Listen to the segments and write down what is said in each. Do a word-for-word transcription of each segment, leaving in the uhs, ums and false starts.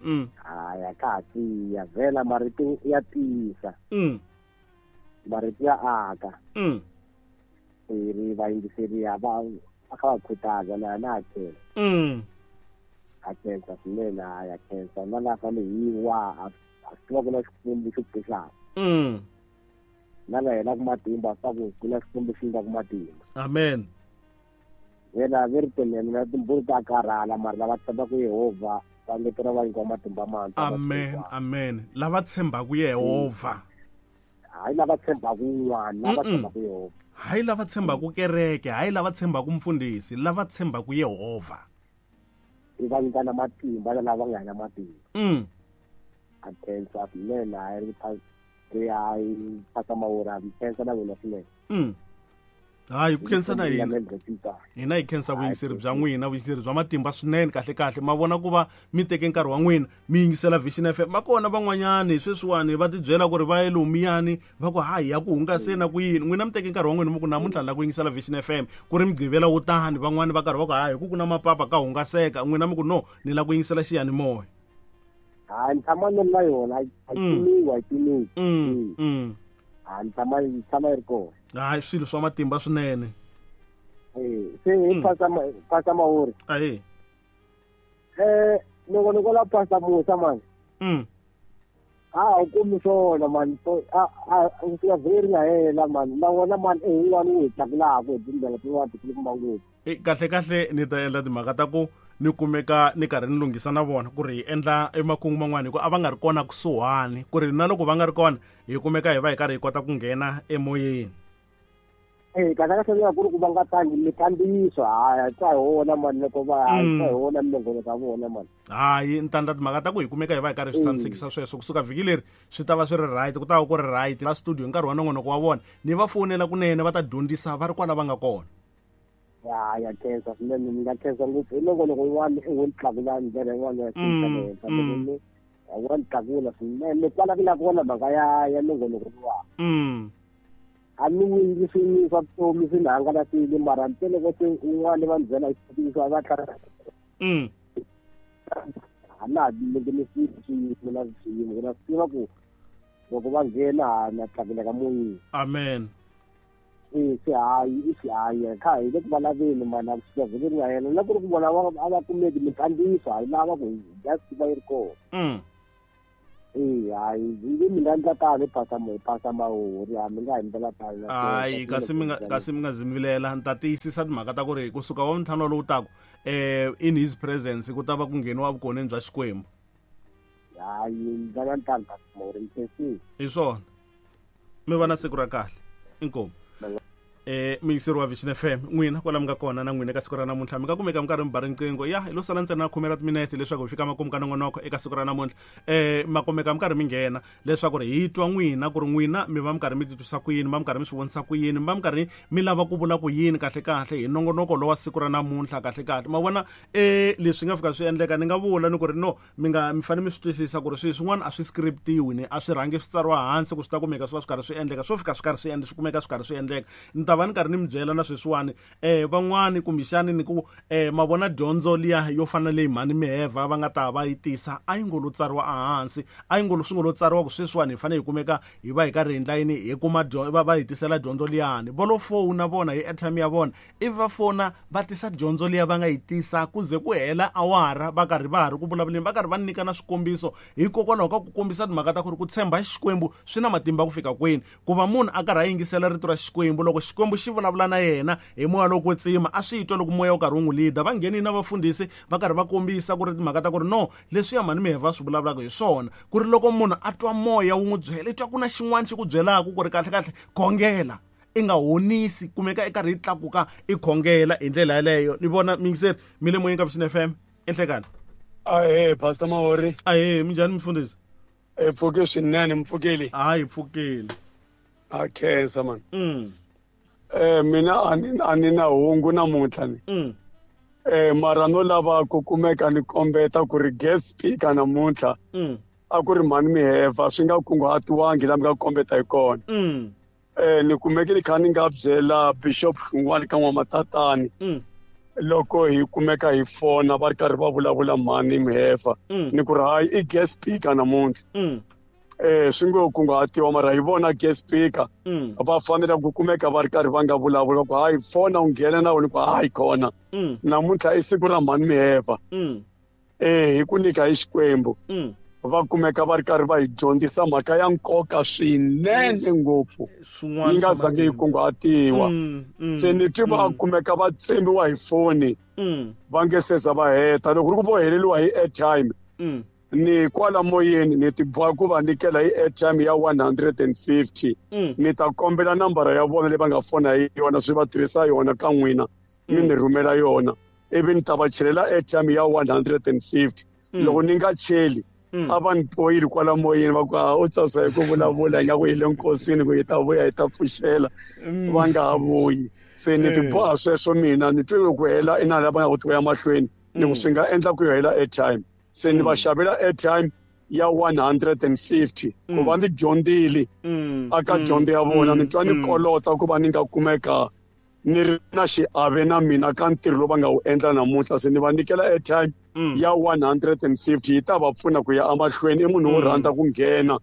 Mm. Hayi a ka ha tiya vhela marito ya tiyisa. Mm. Marito ya aka. Mm. Ri vayingiseri a va a kha va khutaza na na khensa. Mm. A khensa swinene a ya khensa na laha fanele hi wa a swi tiva ku na Xikwembu xo pfuxaka. Mm. Na la hela ku matimba swa ku ku na Xikwembu xi nga ku matimba. Amen. Vhela ve ri tinene na timbhuri ta karhala mara lava tshembaka Yehovha va ngetela va nyikiwa matimba mantshwa. Amen, amen. Lava tshembaka Yehovha. Hayi lava tshembaka un'wana, lava tshembaka Yehovha. Hayi lava tshembaka kereke, hayi lava tshembaka mfundhisi, lava tshembaka Yehovha. I va nyika na matimba na lava nga na matimba. Mm. A khensa swinene hayi ri ri hayi phasa mawura khensa na wena swinene. Mm. Hayi ku khensa na hina. Hina hi khensa vuyingiseri bya n'wina, vuyingiseri bya matimba swinene kahle kahle. Ma vona ku va mi teke nkarhi wa n'wina mi yingisela Vision F M. Va kona van'wanyani sweswiwani va tibyela ku ri va ye lomiyani va ku hayi ya ku hungaseni ku yini. N'wina mi teke nkarhi wa n'wina mi ku namuntlha la ku yingisela Vision F M ku ri mugqivela wo tani, van'wani va karhi va ku hayi ku ku na mapapa ka hungaseka. N'wina mi ku no ni la ku yingisela xiyanimoya. Hayi ni tshama ni ri na yona, a yi timiwi, a yi timiwi. Mm. Mm. A ni tshama yi tshama yi ri kona. Hayi swilo swa matimba swinene. Eh, se hi phasa phasa mawuri. Ayi. Eh, loko ni kola phasa Musa man. Mm. A u kumi swona man, a a u fika vheri nga hela man. Na wona man e wun'wana wu hi tlakulaka hi tindlela tin'wana tikulukumba ngopfu. Eh, kahle kahle ni ta endla timhaka ta ku ni kumeka ni karhi ni lunghisa na vona ku ri hi endla emakungu man'wana hi ku a va nga ri kona kusuhani, ku ri na loko va nga ri kona hi kumeka hi va hi karhi hi kota ku nghena emoyeni. Eh, kahle kahle ku ri ku va nga tangi mikandziyiso, hayi twa hi wona man, loko va hayi twa hi wona minongonoko ya vona man. Hayi ni ta endla timhaka ta ku hi kumeka hi va hi karhi swi tshamisekisa sweswo kusuka vhiki leri swi ta va swi ri right, ku ta va ku ri right la studio hi nkarhi wa nongonoko wa vona ni va fonela kunene va ta dyondzisa va ri kwala va nga kona. Ya ya khensa swinene, ni nga khensa ngopfu hi nongonoko wun'wana i wu ni tlakula ndlela yin'wana ya xi henhla, wa ni tlakula swinene kwala ku la kona mhaka ya ya nongonoko luwa. Mm. A ni wingi swini swa vutomi swi ni hangalasile mara ntsena loko se un'wana va ni byela hi xitiviso a va tlhela. Mm. A na ha lingenisile swiyimo na swiyimo, na swi tiva ku loko va nghena ha na tlakuleka moyeni. Amen. Eh, se hayi i xihayi kha hi le ku valaveni mana ku fika vhiki ri nga hela na ku ri ku vona a va kumeki minkandziyiso hayi lava ku just va yi ri kona. Mm. Eh, hayi mi nga endla tano hi phasa hi phasa mahori, a mi nga hi ndlela tano. Hayi kasi mi nga kasi mi nga zimilela ni ta tiyisisa timhaka ta ku ri kusuka wa ntlhanu lowu taku eh in his presence ku ta va ku ngheniwa vukoneni bya Xikwembu. Hayi ndlela ntano ka mahori ni hi swona. Mi va na siku ra kahle. Inkomu. Eh muyingiseri wa Vision F M n'wina kwala mi nga kona na n'wina eka siku ra namuntlha mi nga kumeka mi karhi mi ba riqingho ya hi lo sala ntsena khume ra timinete leswaku hi fika makumu ka nongonoko eka siku ra namuntlha. Eh ma kumeka mi karhi mi nghena leswaku ri hi twa n'wina ku ri n'wina mi va mi karhi mi titwisa ku yini, mi va mi karhi mi swi vonisa ku yini, mi va mi karhi mi lava ku vula ku yini kahle kahle hi nongonoko lowa siku ra namuntlha kahle kahle. Ma vona eh leswi nga fika swi endleka ni nga vula ni ku ri no mi nga mi fanele mi swi twisisa ku ri swilo swin'wana a swi scriptiwi ni a swi rhangi swi tsariwa hansi ku swi ta kumeka swi va swi karhi swi endleka, swo fika swi karhi swi endleka swi kumeka swi karhi swi endleka. Ni ta va ni karhi ni mi byela na sweswiwani eh van'wani kumbexani ni ku eh ma vona dyondzo liya yo fana leyi mhani Miheva va nga ta va yi tisa a yi ngo lo tsariwa ehansi, a yi ngo lo swi ngo lo tsariwa ku sweswiwani hi fanele hi kumeka hi va hi karhi hi endla yini hi kuma va va hi tisela dyondzo liyani. Va lo fona vona hi airtime ya vona ivi va fona va tisa dyondzo liya va nga yi tisa ku ze ku hela awara va karhi va ha ri ku vulavuleni va karhi va nyika na swikombiso hikokwalaho ka ku kombisa timhaka ta ku ri ku tshemba Xikwembu swi na matimba ku fika kwini, ku va munhu a karhi a yingisela rito ra Xikwembu loko Xikwembu xi vulavula na yena hi moya lowo kwetsima a swi twa loko moya wu karhi wu n'wi leader. Va nghenile na vafundhisi va karhi va kombisa ku ri timhaka ta ku ri no leswiya mhani Miheva swi vulavulaka hi swona, ku ri loko munhu a twa moya wu n'wi byela i twa ku na xin'wana xi ku byelaka ku ri kahle kahle khongela i nga honisi kumeka i karhi yi tlakuka i khongela hi ndlela yaleyo. Ni vona miyingiseri mi le moyeni ka Vision F M enhlekani. Ahee Pastor Mahori. Ahee minjhani mfundhisi? E pfuke swinene mpfukeli. Hayi pfukeli. A khensa man. Mm. Eh mina a ni a ni na hungu namuntlha ni. Mm. Eh mara no lava ku kumeka ni kombeta ku ri guest speaker namuntlha. Mm. A ku ri mhani Miheva swi nga kunguhatiwangi la mi nga kombeta hi kona. Mm. Eh ni kumeke ni kha ni nga byela Bishop Hlungwani ka N'wamatatani. Mm. Loko hi kumeka hi fona va ri karhi va vulavula mhani Mhefa ni ku ri hayi i guest speaker namuntlha eh swi ngo kunguhatiwa mara hi vona guest speaker va fanele ku kumeka va ri karhi va nga vulavula ku hayi fona u nghena na wena ku hayi kona namuntlha i siku ra mhani Mhefa eh hi ku nyika hi Xikwembu va kumeka va ri karhi va hi dyondzisa mhaka ya nkoka swinene ngopfu yi nga zangi yi kunguhatiwa se ni twi va kumeka va tsemiwa hi foni va nge seza va heta loko ri ku vo heleriwa hi airtime ni kwala moyeni ni ti boha ku va nyikela hi airtime ya one hundred and fifty ni ta kombela nambara ya vona leyi va nga fona hi yona swi va tirhisa yona ka n'wina mi ni rhumela yona ivi ni ta va chelela airtime ya one hundred and fifty loko ni nga cheli a va ni poyili kwala moyeni va ku a u tsasa hi ku vulavula ingaku hi le nkosini ku hi ta vuya hi ta pfuxela va nga ha vuyi se ni ti boha sweswo mina ni twe ku hela i na lava nga ku ti ya mahlweni ni ku swi nga endla ku yo hela airtime se ni va xavela airtime ya one hundred and fifty ku va ndzi dyondzile aka dyondzo ya vona ni twa ni kolota ku va ni nga kumeka ni ri na xiave na mina ka ntirho lowu va nga wu endla namuntlha se ni va nyikela airtime ya one hundred and fifty yi ta va pfuna ku ya emahlweni i munhu wo rhandza ku nghena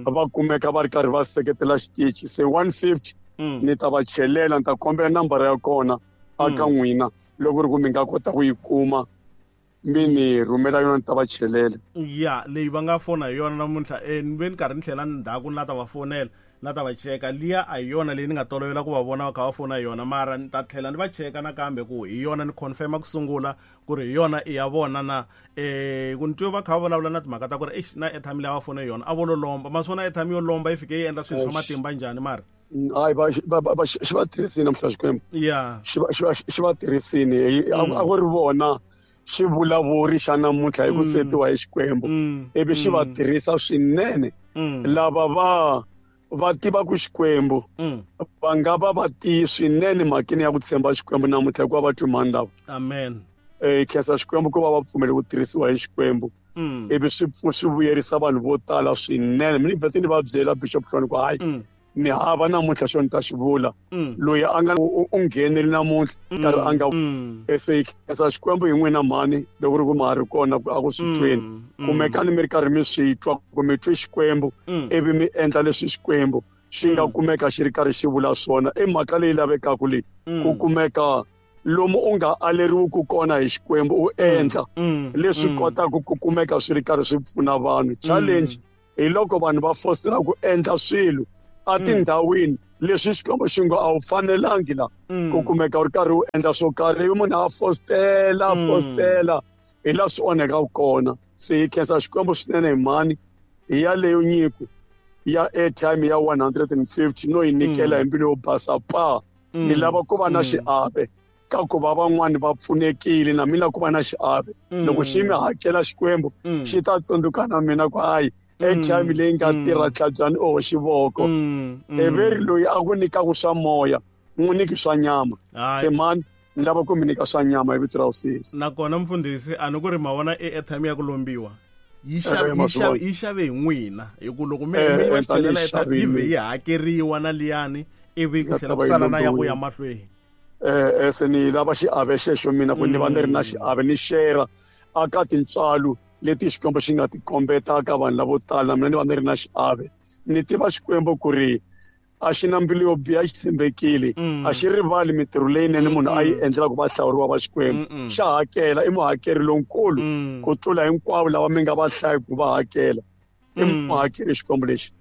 va kumeka va ri karhi va seketela xitichi se one fifty ni ta va chelela ni ta kombela nambara ya kona aka n'wina loko ri ku mi nga kota ku yi kuma mi ni rhumela yona ni ta va chelela ya leyi va nga fona hi yona namuntlha eh ni ve ni karhi ni tlhela ndzhaku ni la ta va fonela na ta va cheka liya a hi yona leyi ni nga tolovela ku va vona va kha va fona hi yona mara ni ta tlhela ni va cheka nakambe ku hi yona ni confirma ku sungula ku ri hi yona i ya vona na eh ku ni twe va kha va vulavula na timhaka ta ku ri eish na airtime leyi a va fona hi yona a vo lo lomba ma swi vona airtime yo lomba yi fike yi endla swilo swa matimba njhani mara hayi va va xi va tirhisini namuntlha Xikwembu ya xi va xi va xi va tirhisini a ku ri vona xivulavuri xa namuntlha hi ku setiwa hi Xikwembu ivi xi va tirhisa swinene lava va va tiva ku Xikwembu va nga va va tiyi swinene mhakeni ya ku tshemba Xikwembu namuntlha hikuva va twi mhani lava amen eh khensa Xikwembu ku va va pfumele ku tirhisiwa hi Xikwembu ivi swi swi vuyerisa vanhu vo tala swinene mina vhete ni va byela Bishop Hloni ku hayi ni hava namuntlha xo ni ta xi vula loyi a nga u ngheneli namuntlha karhi a nga se khensa Xikwembu hi n'wina mhani loko ri ku ma ha ri kona a ku swi tweni kumekani mi ri karhi mi swi twa ku mi twi Xikwembu ivi mi endla leswi Xikwembu xi nga kumeka xi ri karhi xi vula swona i mhaka leyi lavekaka leyi ku kumeka lomu u nga aleriwi kona hi Xikwembu u endla leswi kotaka ku kumeka swi ri karhi swi pfuna vanhu challenge hi loko vanhu va fosela ku endla swilo a tindhawini leswi Xikwembu xi ngo a wu fanelangi la ku kumeka u ri karhi u endla swo karhi ivi munhu a fostela fostela hi laha swi onhekaka kona se hi khensa Xikwembu swinene hi mhani hi yaleyo nyiko ya airtime ya one hundred and fifty no yi nyikela hi mbilu yo basa pa ni lava ku va na xiave ka ku va van'wani va pfunekile na mina ku va na xiave loko xi mi hakela Xikwembu xi ta tsundzuka na mina ku hayi airtime leyi nga tirha tlhabyani oho xivoko everi loyi a ku nyikaku swa moya n'wi nyiki swa nyama se mani ni lava ku mi nyika swa nyama hi vito ra Hosisi nakona mfundhisi a ni ku ri ma vona e airtime ya ku lombiwa yi xave yi xave yi xave hi n'wina hi ku loko mi mi va chelela airtime yi vhe yi hakeriwa na liyani ivi ku tlhela ku sala na ya ku ya mahlweni eh se ni lava xiave xexo mina ku ni va ni ri na xiave ni share aka tintswalo leti Xikwembu xi nga ti kombeta ka vanhu lavo tala mina ni va ni ri na xiave ni tiva Xikwembu ku ri a xi na mbilu yo biha xi tshembekile a xi rivali mintirho leyinene munhu a yi endlela ku va hlawuriwa va Xikwembu xa hakela i muhakeri lonkulu ku tlula hinkwavo lava mi nga va hlayi ku va hakela i muhakeri Xikwembu lexi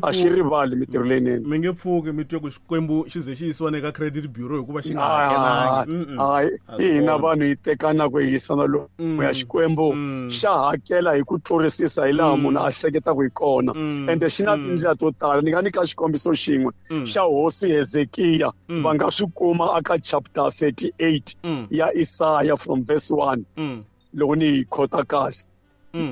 a xi rivali mintirho leyinene mi nge pfuki mi twe ku Xikwembu xi ze xi yisiwa eka credit bureau hikuva xi nga hakelangi hayi hina vanhu hi tekana ku yisana lomu ya Xikwembu xa hakela hi ku tlurisisa hi laha munhu a hleketaka hi kona ende xi na tindlela to tala ni nga nyika xikombiso xin'we xa hosi Hezekiya va nga swi kuma aka chapter thirty-eight ya Isaya from verse one loko ni yi khota kahle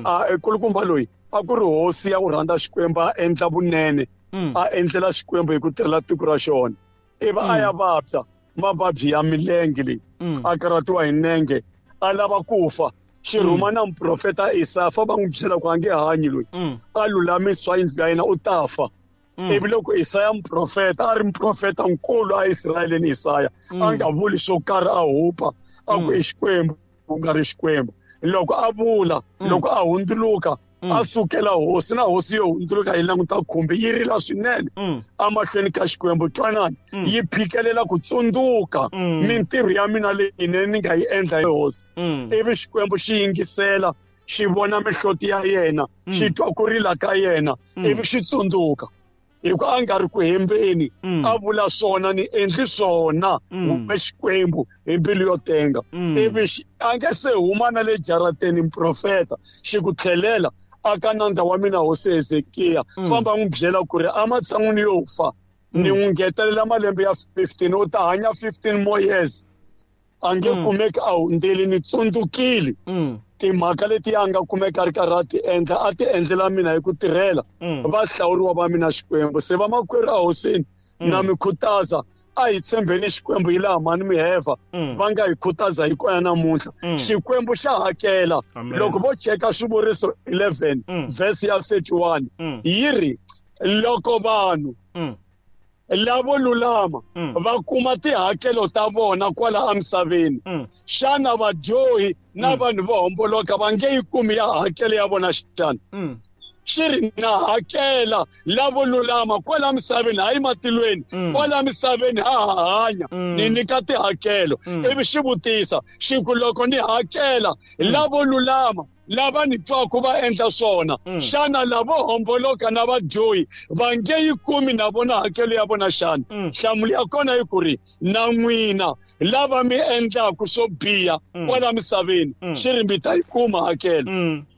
a kulukumba loyi a ku ri hosi ya ku rhandza Xikwembu a endla vunene a endlela Xikwembu hi ku tirhela tiko ra xona ivi a ya vabya mavabyi ya milenge leyi a karhatiwa hi nenge a lava ku fa xi rhuma na muprofeta Isaya fa va n'wi byela ku a nge hanyi loyi a lulamisa yindlu ya yena u ta fa Ivi loko Isaya muprofeta a ri muprofeta nkulu a Israyeleni Isaya a nga vuli swo karhi a hupa a ku i Xikwembu ku nga ri Xikwembu. Loko a vula loko a hundzuluka a sukela hosi na hosi yo hundzuluka yi languta khumbi yi rila swinene emahlweni ka Xikwembu. Twanani yi phikelela ku tsundzuka mintirho ya mina leyinene ni nga yi endla hi hosi. Ivi Xikwembu xi yingisela xi vona mihloti ya yena xi twa ku rila ka yena ivi xi tsundzuka. Hi ku a nga ri ku hembeni a vula swona ni endli swona we Xikwembu hi mbilu yo tenga. Ivi a nge se huma na le jarateni muprofeta xi ku tlhelela aka nandza wa mina hosi Hezekiya famba n'wi byela ku ri ematshan'wini yo fa ni n'wi ngetelela malembe ya fifteen u ta hanya fifteen more years a nge kumeki a hundzile ni tsundzukile timhaka leti a nga kumeka a ri karhi a ti endla a ti endlela mina hi ku tirhela va hlawuriwa va mina Xikwembu. Se vamakwerhu a hosini na mi khutaza a hi tshembeni Xikwembu hi laha mhani miheva va nga hi khutaza hi kona namuntlha. Xikwembu xa hakela. Loko vo cheka Swivuriso eleven verse ya thirty-one yi ri loko vanhu lavo lulama va kuma tihakelo ta vona kwala emisaveni xana vadyohi na vanhu vo homboloka va nge yi kumi ya hakelo ya vona xana? Xi ri na hakela lavo lulama kwala misaveni hayi matilweni kwala misaveni ha ha hanya ni nyika tihakelo. Ivi xi vutisa xi ku loko ni hakela lavo lulama lava ni twaku va endla swona xana lavo homboloka na vadyohi va nge yi kumi na vona hakelo ya vona xana? Nhlamulo ya kona yi ku ri na n'wina lava mi endlaku swo biha kwala misaveni xi ri mi ta yi kuma hakelo.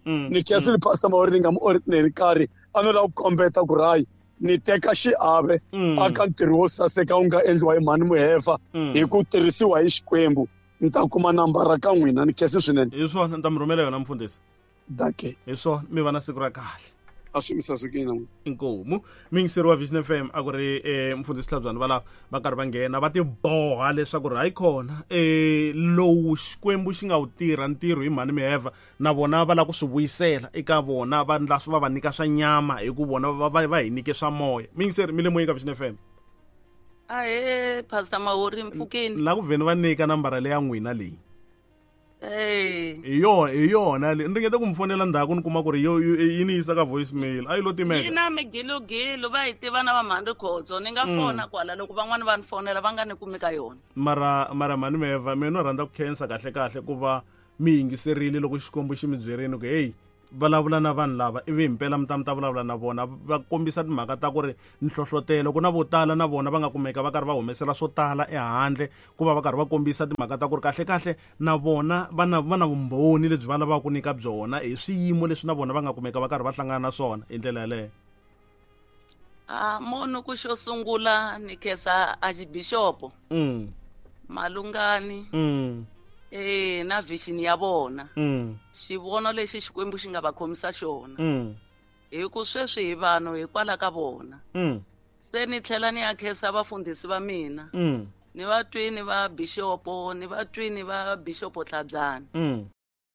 Ni khensile Pastor Mahori ni nga mu ordinary karhi a no lava ku kombeta ku ri hayi ni teka xiave aka ntirho wo saseka wu nga endliwa hi mhani Muhefa hi ku tirhisiwa hi Xikwembu. Ni ta kuma nambara ka n'wina ni khensi swinene. Hi swona ni ta mi rhumela yona mfundhisi. Dankie. Hi swona mi va na siku ra kahle. A swi mi sasekile na n'wina. Inkomu muyingiseri wa Vision F M a ku ri mfundhisi Hlabyani va lava va karhi va nghena va tiboha leswaku ri hayi kona lowu Xikwembu xi nga wu tirha ntirho hi mhani Miheva na vona va lava ku swi vuyisela eka vona va ndla va va nyika swa nyama hi ku vona va va hi nyike swa moya. Muyingiseri mi le moyeni ka Vision F M. Ahe Pastor Mahori mpfukeni. La ku vheni va nyika nambara leya n'wina leyi. Eh. Hi yona hi yona le. Ni ringeta ku mi fonela ndzhaku ni kuma ku ri yo yi ni yisa ka voicemail. A yi lo timeka. Yi na migilogilo va hi tiva na va mhani Rikhotso. Ni nga fona kwala loko van'wani va ni fonela va nga ni kumi ka yona. Mara mara mhani Meva mina no rhandza ku khensa kahle kahle ku va mi yingiserile loko Xikwembu xi mi byerini ku hey vulavula na vanhu lava ivi himpela mi ta mi ta vulavula na vona va kombisa timhaka ta ku ri nhlohlotelo ku na vo tala na vona va nga kumeka va karhi va humesela swo tala ehandle ku va va karhi va kombisa timhaka ta ku ri kahle kahle na vona va na va na vumbhoni lebyi va lavaka ku nyika byona hi swiyimo leswi na vona va nga kumeka va karhi va hlangana na swona hi ndlela yaleyo. A mono ku xo sungula ni khensa Archbishop mm Malungani mm eh na vision ya vona mm xivono lexi Xikwembu xi nga va khomisa xona mm hi ku sweswi hi vanhu hikwalaho ka vona mm se ni tlhela ni ya khensa vafundhisi va mina mm ni va twini va bishopo ni va twini va bishopo Hlabyani mm